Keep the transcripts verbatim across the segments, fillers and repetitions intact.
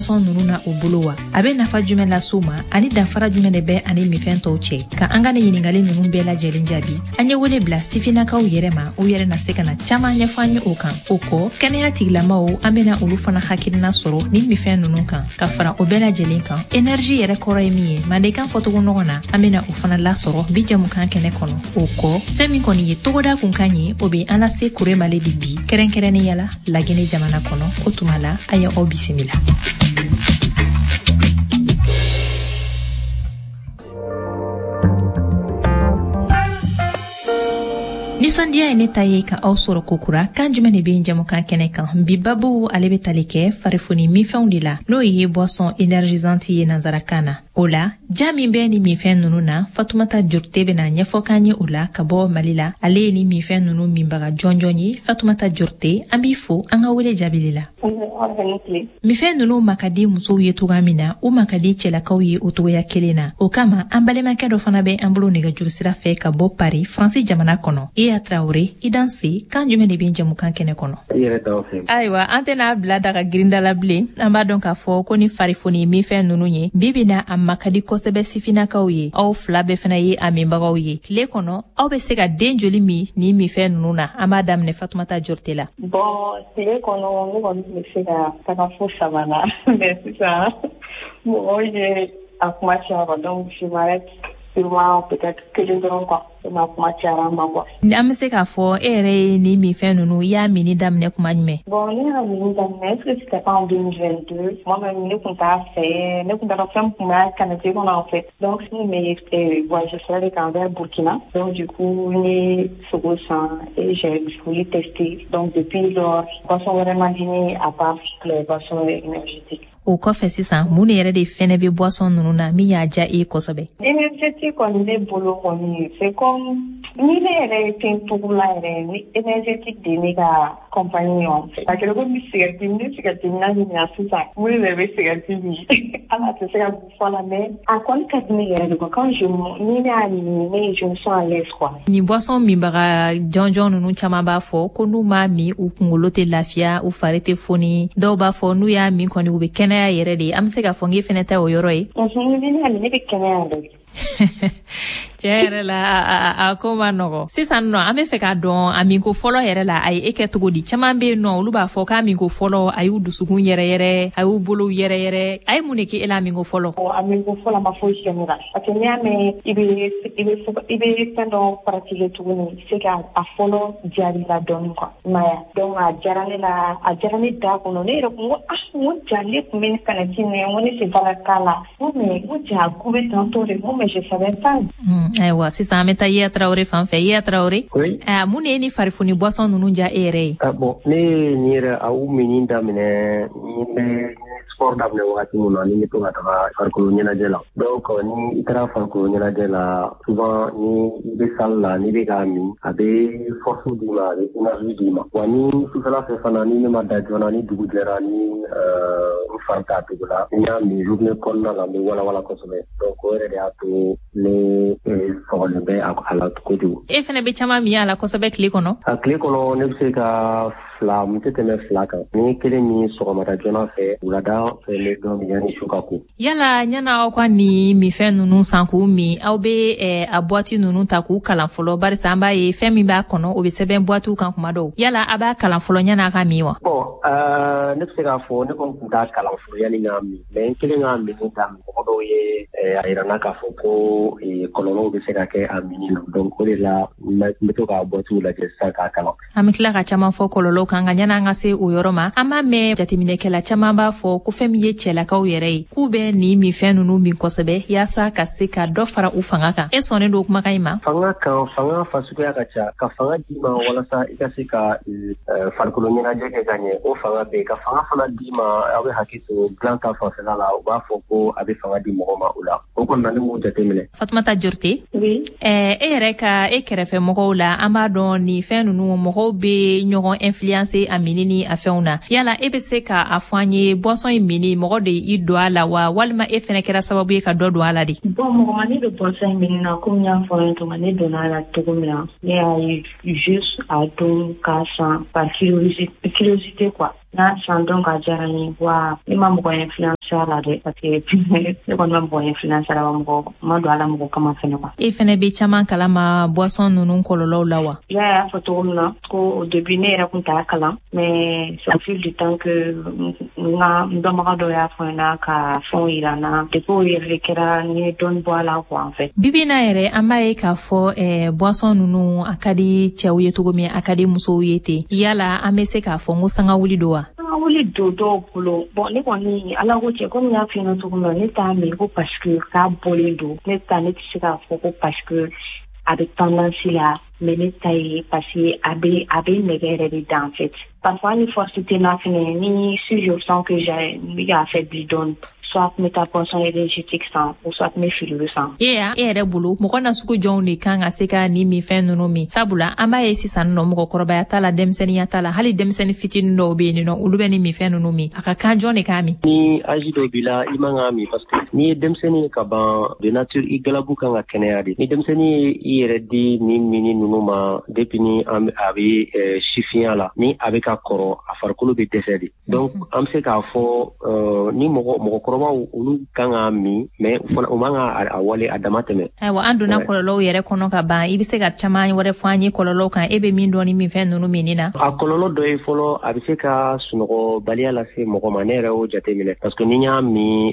boisson ninnu na u bolo wa? A bɛ nafa jumɛn lase u ma ani danfara jumɛn de bɛ ani minfɛn tɔw cɛ? Ka an ka nin ɲininkali ninnu bɛɛ lajɛlen jaabi, an ye wele bila sifinnakaw yɛrɛ ma, u yɛrɛ na se ka na caman ɲɛfɔ an ye o kan. O kɔ, kɛnɛya tigilamaw, an bɛna olu fana hakilina sɔrɔ nin minfɛn ninnu kan. Ka fara o bɛɛ lajɛlen kan, énergie yɛrɛ kɔrɔ ye min ye mandenkan fɔcogo nɔgɔ na, an bɛna o fana lasɔrɔ bi jamukan kɛnɛ kɔnɔ. O kɔ, fɛn min kɔni ye togoda kunkan ye, o bɛ an lase Kuremale de bi, kɛrɛnkɛrɛnnenya la Lagine jamana kɔnɔ. O tuma la, a ye aw bisimila. Nisɔndiya ye ne ta ye ka aw sɔrɔ kokura. Kan jumɛn de bɛ jamukan kɛnɛ kan bi? Babu ale bɛ tali kɛ farifoni minfɛnw de la, n'o ye boisson énergisante ye nansarakan na. O la, ja min bɛ ni minfɛn ninnu na, Fatumata Jorite bɛna ɲɛfɔ k'an ye o la ka bɔ Mali la. Ale ye ni minfɛn ninnu minbaga jɔnjɔn ye. Fatumata Jorite, an b'i fo an ka wele jaabili la. Minfɛn ninnu ma ka di musow ye cogoya min na, u ma ka di cɛlakaw ye o cogoya kelen na. O kama, an balimakɛ dɔ fana bɛ an bolo nɛgɛjuru sira fɛ ka bɔ Paris, Faransi jamana kɔnɔ. Iya Traoré, i danse. Kan jumɛn de bɛ jamukan kɛnɛ kɔnɔ? Ayiwa, an tɛna bila daga girinda la bilen. An b'a dɔn k'a fɔ ko ni farifoni minfɛn ninnu ye bi bi na, a ma ka di kosɛbɛ sifinnakaw ye. Aw fila bɛɛ fana ye a minbagaw ye. Tile kɔnɔ, aw bɛ se ka den joli min nin minfɛn ninnu na? An b'a daminɛ Fatumata Jorite la. Bon, tile kɔnɔ ne kɔni bɛ se ka taga fo saba la, mais sisan mɔgɔw ye a kuma caya, donc je m'arrête sûrement peut-être kelen dɔrɔn quoi. Ma kuma cayara ma quoi. An bɛ se k'a fɔ e yɛrɛ ye nin minfɛn ninnu, i y'a minni daminɛ kuma jumɛn? Bon, ne y'a minni daminɛ, est-ce que c'était pas en deux mille vingt-deux? Moi-même, ne tun t'a fɛ, ne tun t'a dɔn fɛn tun b'a canette kɔnɔ en fait. Donc n bɛ voyage sira de kan vers Burkina, donc du coup n ye sogo san et j'ai voulu tester. Donc depuis lors, boisson wɛrɛ man di ne à part les boissons énergétiques. O kɔfɛ sisan, mun de yɛrɛ de fɛnɛ bɛ boisson ninnu na min y'a diya e ye kosɛbɛ? Énergétique kɔni, ne bolo kɔni, c'est comme ni ne yɛrɛ ye fɛn tugula yɛrɛ ni énergétique de ye ne ka compagnie ye en fait. A kɛra komi cigarette, ni cigarette minna ɲininka sisan, mun de bɛ cigarette min, hali a tɛ se ka fɔ la, mais a kɔni ka di ne yɛrɛ de quoi. Quand je ni ne y'a min, ne je me sens à l'aise quoi. Nin boisson minbaga jɔnjɔn ninnu caman b'a fɔ ko n'u m'a min, u kunkolo tɛ lafiya, u fari tɛ foni. Dɔw b'a fɔ n'u y'a min kɔni, u bɛ kɛnɛya yɛrɛ de. An bɛ se k'a fɔ n k'e fɛnɛ ta o yɔrɔ ye? Ni ne y'a min, ne bɛ kɛnɛya yɛrɛ de. Tiɲɛ yɛrɛ la, a ko ma nɔgɔ. Sisan nɔ, an bɛ fɛ k'a dɔn, a minko fɔlɔ yɛrɛ la, a ye e kɛ cogo di? Caman bɛ yen nɔ, olu b'a fɔ k'a minko fɔlɔ, a y'u dusukun yɛrɛ yɛrɛ, a y'u bolow yɛrɛ yɛrɛ. A ye mun de kɛ e la a minko fɔlɔ? A minko fɔlɔ ma foyi kɛ ne la, parce que n'i y'a mɛn i bɛ i bɛ i bɛ fɛn dɔ pratiquer tuguni, c'est que a fɔlɔ diyar'i la dɔɔnin quoi, i m'a ye? Donc a diyara ne la, a diyara ne da kɔnɔ. Ne yɛrɛ kun ko ah, n ko ja ne tun bɛ canette min, n ko ne sen t'a la k'a la, n ko mais n ko ja a goût bɛ tantôt de, n ko mais je savais pas. Ayiwa, sisan an bɛ taa Iya Traoré fan fɛ. Iya Traoré, oui. Mun de ye ni farifoni boisson ninnu diya e yɛrɛ ye? Ah bon, ne ye nin yɛrɛ a u minni daminɛ ni bɛ sport daminɛ wagati min na, ni bɛ to ka taga farikolo ɲɛnajɛ la. Donc ni i taara farikolo ɲɛnajɛ la, souvent ni i bɛ salle la, n'i bɛ k'a min, a bɛ force d'i ma, a bɛ énergie d'i ma. Wa ni sufɛla fɛ fana, ni ne ma da joona, ni dugu jɛra, ni n fari t'a cogo la, ni n y'a min journée kɔnɔna la, n bɛ walawala kosɛbɛ. Donc o yɛrɛ de y'a to ne sɔgɔlen bɛ a la kojugu. E fɛnɛ bɛ caman min a la kosɛbɛ tile kɔnɔ? A tile kɔnɔ, ne bɛ se ka fila, n tɛ tɛmɛ fila kan. Ni kelen min sɔgɔmada joona fɛ, wulada fɛ, n bɛ dɔ min yanni su ka ko. Yala ɲana aw ka nin minfɛn ninnu san k'u min, aw bɛ a boîte ninnu ta k'u kalan fɔlɔ? Barisa an b'a ye fɛn min b'a kɔnɔ, o bɛ sɛbɛn boîte kan kuma dɔw. Yala a b'a kalan fɔlɔ ɲana a ka min wa? Bon, ne bɛ se k'a fɔ ne kɔni tun t'a kalan fɔlɔ yanni k'a min, mais n kelen k'a min daminɛ, mɔgɔ dɔw ye a yira n na k'a fɔ ko kɔlɔlɔw bɛ se ka kɛ a minni na. Donc o de la n bɛ to k'a boîte lajɛ sisan k'a kalan. An bɛ tila ka caman fɔ kɔlɔlɔw kan, nka ɲani an ka se o yɔrɔ ma, an b'a mɛn jateminɛkɛla caman b'a fɔ ko fɛn min ye cɛlakaw yɛrɛ ye, k'u bɛ nin minfɛn ninnu min kosɛbɛ yaasa ka se ka dɔ fara u fanga kan. E sɔnnen don kumakan in ma? Fanga kan, fanga fasuguya ka ca. Ka fanga d'i ma walasa i ka se ka farikolo ɲɛnajɛ kɛ ka ɲɛ, o fanga bɛ yen. Ka fanga fana d'i ma, aw bɛ hakili to dilan ta fanfɛla la, u b'a fɔ ko a bɛ fanga di mɔgɔ ma o la. O kɔni na, ne m'o jateminɛ. Fatumata Jorite, oui. E yɛrɛ ka e kɛrɛfɛ mɔgɔw la, an b'a dɔn nin fɛn ninnu, mɔgɔw bɛ ɲɔgɔn influencer a minni ni a fɛnw na. Yala e bɛ se ka a fɔ an ye, boisson in minni, mɔgɔ de y'i don a la wa, walima e fɛnɛ kɛra sababu ye ka dɔ don a la de? Bon, mɔgɔ ma ne don boisson in minni na. Komi n y'a fɔ aw ye cogo min, ne donna a la cogo min na, ne y'a ye juste a don k'a san par curiosité, curiosité quoi. N'a san, donc a diyara n ye wa. Ne ma mɔgɔ influencer. sira la dɛ, parce que ne kɔni ma mɔgɔ influence la, mɔgɔ ma don a la mɔgɔ kama fɛnɛ quoi. E fɛnɛ bɛ caman kalama boisson ninnu kɔlɔlɔw la wa? I y'a fɔ cogo min na ko au début ne yɛrɛ kun t'a kalan, mais c'est au fil du temps que n ka n dɔnbaga dɔ y'a fɔ n ɲɛna ka fɛnw yira n na. Depuis o yɛrɛ de kɛra n ye dɔɔni bɔ a la quoi en fait. Bibi in na yɛrɛ, an b'a ye k'a fɔ eh, boisson ninnu a ka di cɛw ye cogo min, a ka di musow ye ten. Yala an bɛ se k'a fɔ n ko sangawuli don wa? Sangawuli don dɔw bolo. Bon, ne kɔni, Ala ko cɛ, komi n y'a f'i ɲɛna cogo min na, ne t'a min ko parce que k'a bɔlen don. Ne ta, ne tɛ se k'a fɔ ko parce que a bɛ tendance la, mais ne ta ye parce que a bɛ a bɛ nɛgɛ yɛrɛ de da en fait. Parfois ni force tɛ n na fɛnɛ, ni si je sens que j'ai n bɛ k'a affaibli dɔɔni, soit n bɛ taa boisson énergétique san ou soit n bɛ frigo san. E y'a e yɛrɛ bolo, mɔgɔ na sugu jɔnw de kan ka se ka nin minfɛn ninnu min? Sabula an b'a ye sisan nɔ, mɔgɔkɔrɔbaya t'a la, denmisɛnninya t'a la, hali denmisɛnnin fitinin dɔw bɛ yen nɔ, olu bɛ nin minfɛn ninnu min. A ka kan jɔn de k'a min? Ni âge dɔ b'i la, i man k'a min, parce que n'i ye denmisɛnnin ye ka ban, de nature i galabu kan ka kɛnɛya de. Ni denmisɛnnin ye i yɛrɛ di nin mini ninnu ma depuis ni a bɛ sifinya la, ni a bɛ ka kɔrɔ, a farikolo bɛ dɛsɛ de. Donc an bɛ se k'a fɔ ni mɔgɔ mɔgɔkɔrɔbaw, olu kan k'a min, mais fana u man ka a wale a dama tɛmɛ. Ayiwa, an donna kɔlɔlɔw yɛrɛ kɔnɔ ka ban. I bɛ se ka caman wɛrɛ fɔ an ye kɔlɔlɔw kan, e bɛ min dɔn ni minfɛn ninnu minni na? A kɔlɔlɔ dɔ ye fɔlɔ, a bɛ se ka sunɔgɔbaliya lase mɔgɔ ma. Ne yɛrɛ y'o jateminɛ, parce que ni n y'a min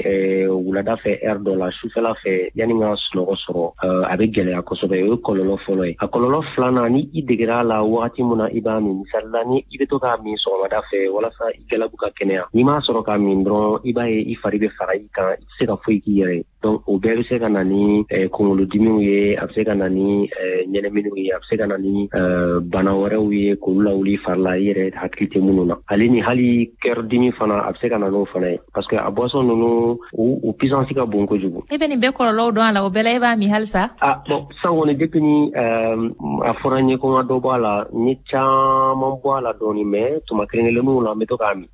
wulada fɛ heure dɔ la, sufɛla fɛ, yanni n ka sunɔgɔ sɔrɔ, a bɛ gɛlɛya kosɛbɛ. O ye kɔlɔlɔ fɔlɔ ye. A kɔlɔlɔ filanan, ni i degera a la wagati min na i b'a min, misali la ni i bɛ to k'a min sɔgɔmada fɛ walasa i galabu ka kɛnɛya, n'i m'a sɔrɔ k'a min dɔrɔn, i b'a ye i fari bɛ fara i kan, i tɛ se ka foyi k'i yɛrɛ ye. Donc o bɛɛ bɛ se ka na ni kunkolodimiw ye, a bɛ se ka na ni ɲɛnaminiw ye, a bɛ se ka na ni bana wɛrɛw ye k'olu lawuli fari la i yɛrɛ hakili tɛ minnu na. Ale ni hali cœur dimi fana, a bɛ se ka na n'o fana ye, parce que a boisson ninnu u puissance ka bon kojugu. E bɛ nin bɛɛ kɔlɔlɔw dɔn a la, o bɛɛ la e b'a min halisa? Ah bon, sisan kɔni, depuis ni a fɔra n ye ko n ka dɔ bɔ a la, n ye caman bɔ a la dɔɔni, mais tuma kelen kelenninw la n bɛ to k'a min.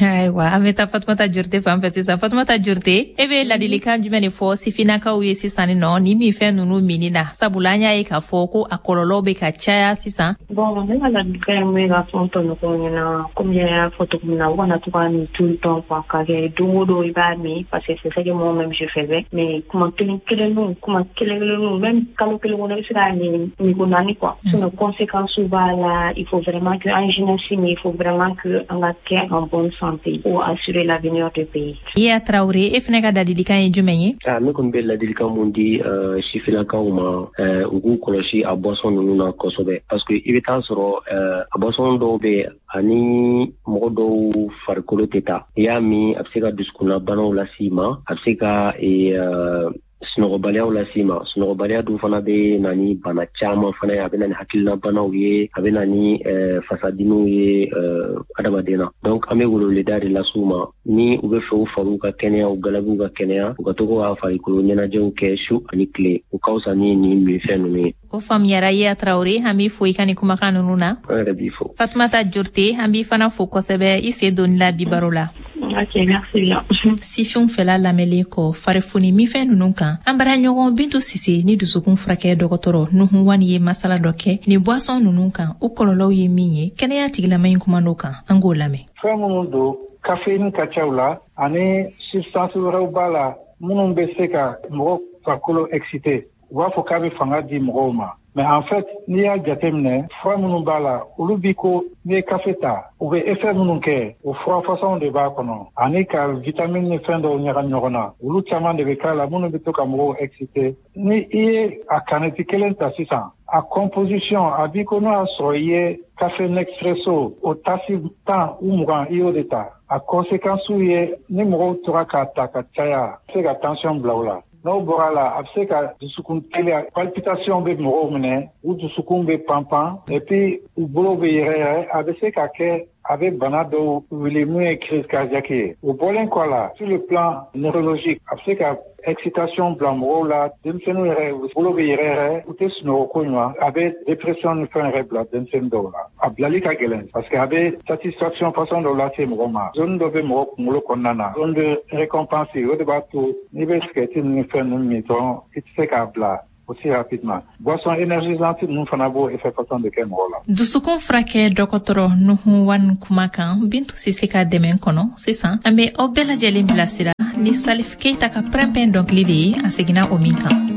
Ayiwa, an bɛ taa Fatumata Jurute fan fɛ sisan. Fatumata Jurute, e bɛ ladilikan jumɛn de fɔ sifinnakaw ye sisan nɔ ni minfɛn ninnu minni na? Sabula an y'a ye k'a fɔ ko a kɔlɔlɔ bɛ ka caya sisan. Bon, ne ka ladilikan ye mun ye k'a fɔ n tɔɲɔgɔnw ɲɛna, komi n y'a fɔ cogo min na, u kana to k'a min tout le temps quoi, k'a kɛ don o don i b'a min, parce que c'est ça que moi-même je faisais. Mais kuma kelen kelenninw, kuma kelen kelenninw, même kalo kelen kɔnɔ i bɛ se k'a min minko naani quoi. Sinon conséquences b'a la. Il faut vraiment que an jeunesse, mais il faut vraiment que an ka kɛ en bonne santé pour assurer l'avenir du pays. Iya Traoré, e fɛnɛ ka ladilikan ye jumɛn ye? Ah, ne kɔni bɛ ladilikan mun di uh, sifinnakaw ma, uh, u k'u kɔlɔsi a boisson ninnu na kosɛbɛ, parce que i bɛ taa sɔrɔ uh, a boisson dɔw bɛ ani mɔgɔ dɔw farikolo tɛ taa. I y'a min, a bɛ se ka dusukunnabanaw las'i ma, a bɛ se ka uh, sunɔgɔbaliyaw las'i ma. Sunɔgɔbaliya dun fana bɛ na ni bana caman fana ye, a bɛ na ni hakilinabanaw ye, a bɛ na ni fasadimiw ye adamaden na. Donc an bɛ weleweleda de las'u ma, ni u bɛ fɛ u fariw ka kɛnɛya, u galabuw ka kɛnɛya, u ka to ka farikolo ɲɛnajɛw kɛ su ani tile, u ka fisa ni nin minfɛn ninnu ye. O faamuyara. Iya Traoré, an b'i fo i ka nin kumakan ninnu na. An yɛrɛ b'i fo. Fatumata Jurute, an b'i fana fo kosɛbɛ i sen donni la bi baro la. Ok, merci bien. Sifinw fɛla lamɛnlen kɔ farifoni minfɛn ninnu kan, an bara ɲɔgɔn Bintu Sise ni dusukun furakɛ dɔgɔtɔrɔ Nuhu Wani ye masala dɔ kɛ ni boisson ninnu kan, u kɔlɔlɔw ye min ye. Kɛnɛya tigilama in kuma n'o kan, an k'o lamɛn. Fɛn minnu don, caféine ka ca u la, ani substance wɛrɛw b'a la minnu bɛ se ka mɔgɔ farikolo excité. U b'a fɔ k'a bɛ fanga di mɔgɔw ma, mais en fait n'i y'a jateminɛ, fura minnu b'a la, olu bi ko n'i ye kafe ta, u bɛ effet minnu kɛ, o fura façon de b'a kɔnɔ, ani ka vitamine ni fɛn dɔw ɲagami ɲɔgɔn na. Olu caman de bɛ k'a la minnu bɛ to ka mɔgɔw excité. Ni i ye a canette kelen ta sisan, a composition a b'i ko n'o y'a sɔrɔ i ye café Nespresso o tasi tan u mugan, i y'o de ta. A conséquence ye, ni mɔgɔw tora k'a ta ka caya, a bɛ se ka tension bila u la. N'o bɔra la, a bɛ se ka dusukun teliya, palpitation bɛ mɔgɔw minɛ, u dusukun bɛ panpan, et puis u bolo bɛ yɛrɛyɛrɛ. A bɛ se ka kɛ a bɛ bana dɔw wuli mun ye crise cardiaque ye. O bɔlen kɔ a la, sur le plan neurologique, a bɛ se ka excitation bila mɔgɔw la. Denmisɛnninw yɛrɛ, u bolo bɛ yɛrɛyɛrɛ, u tɛ sunɔgɔ ko ɲuman. A bɛ dépression ni fɛn yɛrɛ bila denmisɛnnin dɔw la. A bilali ka gɛlɛn, parce que a bɛ satisfaction façon dɔw lase mɔgɔ ma. Zone dɔ bɛ mɔgɔ kunkolo kɔnɔna na, zone de récompense, o de b'a to n'i bɛ sigɛriti ni fɛn ninnu min dɔrɔn, i tɛ se k'a bila. aussi rapidement. Boisson énergisante ninnu fana b'o effet façon de kɛ mɔgɔ la. Dusukun furakɛ dɔgɔtɔrɔ Nuhu Wan kuma kan, Bintu Sise ka dɛmɛ kɔnɔ. Sisan an bɛ aw bɛɛ lajɛlen bilasira ni Salif Keita ka pɛrɛnpɛn dɔnkili de ye, a seginna o min kan.